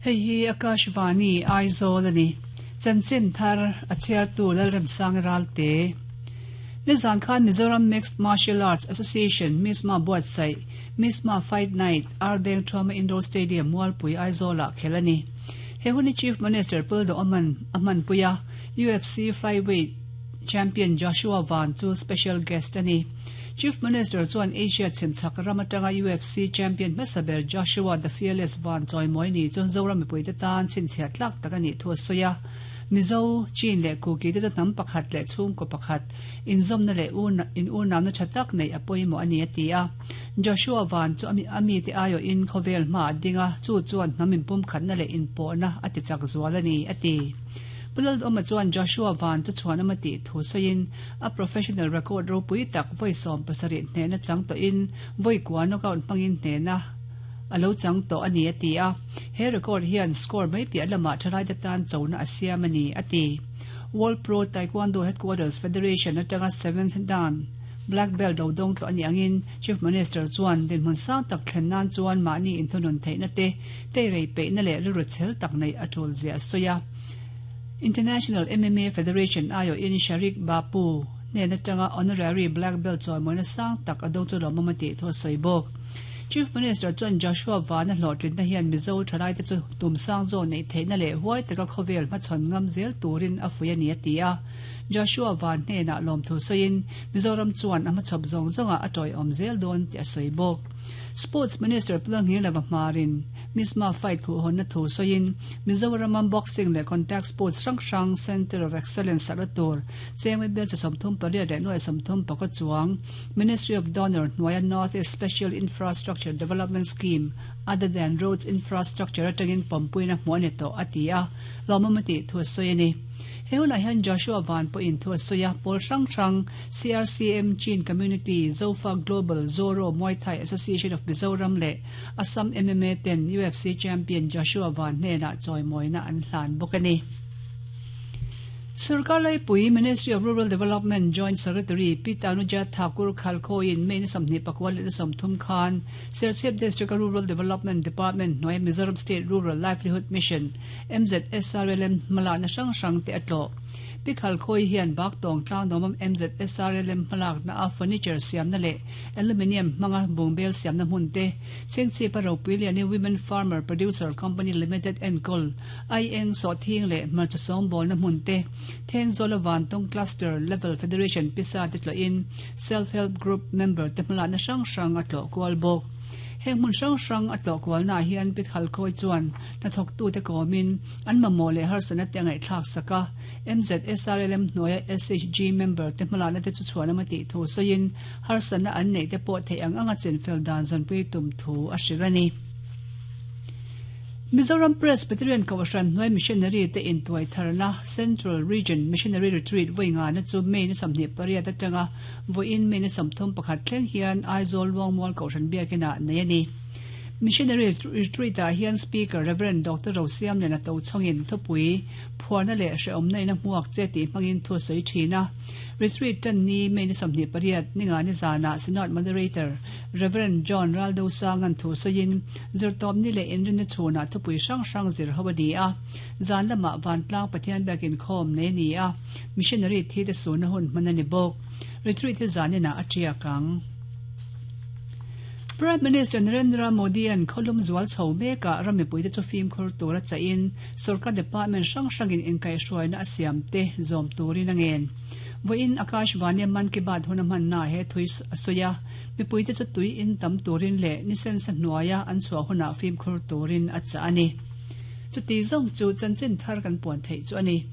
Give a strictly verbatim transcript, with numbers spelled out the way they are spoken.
Hei hi Akashvani Aizawl ani. Chanchin thar a chhiartu Lalremsang Ralte. Nizan khan Mizoram Mixed Martial Arts Association Misma buatsaih Misma Fight Night Ardeng Thuama Indoor Stadium Mualpui Aizawlah khel a ni. He huni Chief Minister Puldo Aman a hmanpui a, U F C Flyweight Champion Joshua Van chu special guest a ni. Chief Minister chuan Asia chhimchhak ram atanga U F C champion hmasa ber Joshua "The Fearless" Van chawimawi ni chu Zoram mipuite tan chhinchhiah tlak tak a nih thu a sawi a. Mizo, Chin leh Kuki te chu hnam pakhat leh chhungkaw pakhat inzawmna leh in unamna tha tak nei a pawimawh a ni a ti a. Joshua Van chu ami te aiawh in khawvel hma a ding a, chu chuan hnam inpum khatna leh inpawhna a ti chak zual a ni a ti. Pu Lalduhoma chuan Joshua Van chu chhuanawm a tih thu sawiin a professional record ropui tak vawi sawm pasarih hnehna chang tawhin vawi kua knockout hmangin hnehna a lo chang tawh a ni a ti a. He record hian score mai piah lamah thalai te tan chona a siam a ni a ti. World Pro Taekwondo Headquarters Federation atanga seventh dan black belt do dawng tawh a ni angin Chief Minister chuan dinhmun sang tak thlen nan chuan mahni inthunun theihna te, teirei peihna leh rilru chhel tak nei a tul zia a sawi a. International M M A Federation aiawh in Sharik Bapu hnen atanga honorary black belt chawimawina sang tak a dawng chu lawmawm a tih thu a sawi bawk. Chief Minister chuan Joshua Van a hlawhtlinna hian Mizo thalai te chu tum sang zaw nei theihna leh huai taka khawvel hmachhawn ngam zel turin a fuih a ni a ti a. Joshua Van hnenah lawm thu sawiin Mizoram chuan a hmachhawp zawng zawnga a tawiawm zel dawn tih a sawi bawk. Sports Minister Pu Lalnghinglova Hmarin Misma Fight khuhhawnna thu sawiin Mizoram boxing leh contact sports hrang hrang Center of Excellence sakna tur chengmei bel cha sawmthum pariat leh nuai sawmthum pakua chuang Ministry of Donor hnuaia North East Special Infrastructure Development Scheme other than roads infrastructure atangin pawmpuina hmuh a ni tawh a ti a, lawmawm a tih thu a sawi a ni. He hunah hian Joshua Van pawhin thu a sawi a, pawl hrang hrang C R C M, Chin Community, Zofa Global, Zoro Muay Thai Association of Mizoram leh Assam M M A ten U F C champion Joshua Van hnenah chawimawina an hlan bawk a ni. Sarkar Laipui Ministry of Rural Development Joint Secretary Pi Tanuja Thakur Khalkho-in May ni sawmhnih pakua leh sawmthum khan Serchhip District Rural Development Department hnuai Mizoram State Rural Livelihood Mission M Z S R L M hmalakna hrang hrang te a tlawh. Pi Khalkhoi hian Baktawng tlangdawm M Z S R L M hmalakna a furniture siamna leh aluminium hmanga bungbel siamna hmun te, Chhingchhip a Ropuiliani Women Farmer Producer Company Limited enkawl aieng sawhthing leh hmarcha sawngbawlna hmun te, Thenzawl a Vantawng Cluster Level Federation pisa te tlawhin Self Help Group member te hmalakna hrang hrang a tlawh kual bawk. Heng hmun hrang hrang a tlawh kualna hian Pi Khalkhoi chuan hnathawktu te kawmin an mamawh leh harsatna te a ngaihthlak sak a. M Z S R L M hnuaia S H G member te hmalakna te chu chhuanawm a tih thu sawiin harsatna an neih te pawh theih ang anga chinfel dan zawnpui tum thu a hrilh a ni. Mizoram Presbyterian Kohhran hnuai missionary te intuai tharna Central Region Missionary Retreat vawi ngana chu May ni sawmhnih pariat atanga vawiin May ni sawmthum pakhat thleng hian Aizawl Luangmual Kohhran biakinah nei a ni. Missionary Retreat ah hian Speaker Reverend Doctor Rosiam Lena Tochhongin thupui phuarna leh hreawmna in a hmuak che tih hmangin thu a sawi thin a. Retreat tan ni May ni sawmhnih pariat ninga ni zana Synod Moderator Reverend John Raldo Sangan thu sawiin zirtawp ni leh inrinna chhunah thupui hrang hrang zir ho a ni a. Zan lamah Vantlang Pathian biakin khawm nei ni a. Missionary thi te suna hun hman a ni bawk. Retreat hi zanina a tiak ang. Prime Minister Narendra Modi an kholum zual chho meka ramipui te chu fim khur tur a chain sarkar department hrang hrangin inkai hruaina a siam te zawm turin angen. Voin Akashvani Man Ki Baat huna man na he thui soya mipui te chu tui in tam turin le nisen sa hnuaia an chhuah huna fim khur turin a cha ani. Chu ti zong chu chanchin thar kan puan thei chu ani.